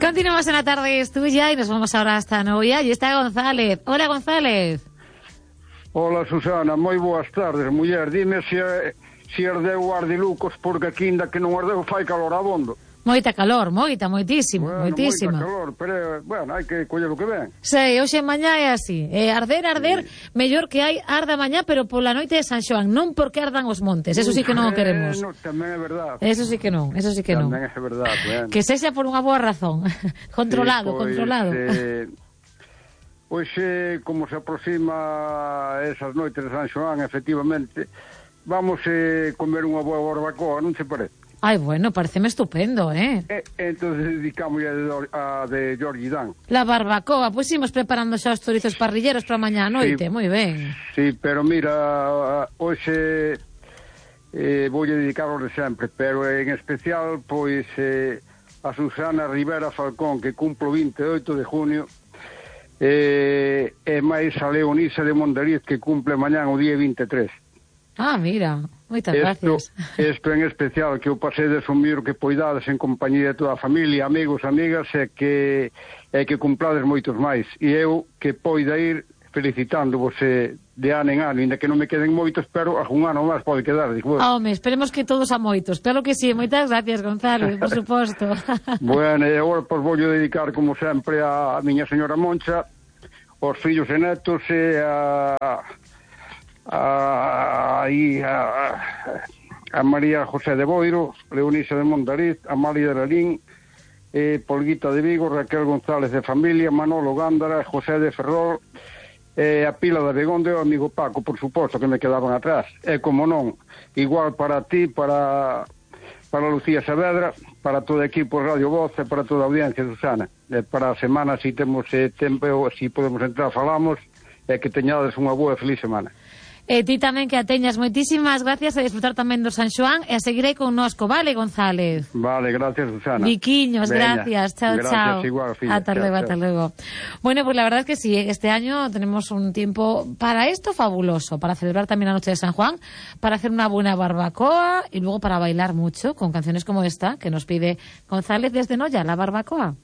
Continuamos en La Tarde es Tuya y nos vamos ahora hasta Noia y está González. Hola, González. Hola, Susana, moi boas tardes, muller. Dime se ardeu o Ardilucos, porque aquí ainda que non ardeu fai calor abondo. Moita calor, moitísimo, Bueno, moitísima. moita calor, pero, bueno, hai que coller o que ven. Sei, hoxe mañá é así. Arder, mellor que hai arda mañá, pero pola noite de San Xoán, non porque ardan os montes, eso sí que non o queremos. No, tamén é verdade. Eso sí que non. Tamén é verdade, bueno. Que sexa por unha boa razón. Controlado. Pois, como se aproxima esas noites de San Xoán, efectivamente, vamos comer unha boa barbacoa, non se parece? Ai, bueno, pareceme estupendo, Entonces dedicamos a de Jorge Dan. La barbacoa, pois imos preparando xa os chorizos parrilleros para mañá a noite, moi ben. Sí, pero mira, hoxe voulle dedicarlo de sempre, pero en especial, pois, a Susana Rivera Falcón, que cumplo 28 de junio, e máis a Leonisa de Mondariz, que cumple mañán o día 23. Ah, mira, moitas gracias. Isto en especial, que eu pasei de sumir que poidades en compañía de toda a familia, amigos, amigas, e que cumplades moitos máis. E eu que poida ir felicitándovos de ano en ano, ainda que non me queden moitos, pero algún ano máis pode quedar. Home, esperemos que todos a moitos, claro que sí, moitas gracias, Gonzalo, por suposto. Bueno, e agora pois vou dedicar, como sempre, a miña señora Moncha, aos fillos e netos, e a María José de Boiro, Leonisa de Mondariz, Amalia de Lalín, Polguita de Vigo, Raquel González de Familia, Manolo Gándara, José de Ferrol, a Pila de Begonde e o amigo Paco, por suposto, que me quedaban atrás. E como non, igual para ti, para Lucía Saavedra, para todo o equipo Radio Voz e para toda a audiencia, Susana. Para a semana, se temos tempo, se podemos entrar, falamos, e que teñades unha boa e feliz semana. E ti tamén que a teñas, moitísimas gracias, a disfrutar tamén do San Xoán e a seguirei connosco, vale, González? Vale, gracias, Susana. Viquiños, Veña, gracias, chao. Gracias, igual, filla. Hasta luego. Bueno, pues la verdad es que sí, este año tenemos un tiempo para esto fabuloso, para celebrar también la noche de San Juan, para hacer una buena barbacoa y luego para bailar mucho con canciones como esta que nos pide González desde Noia, la barbacoa.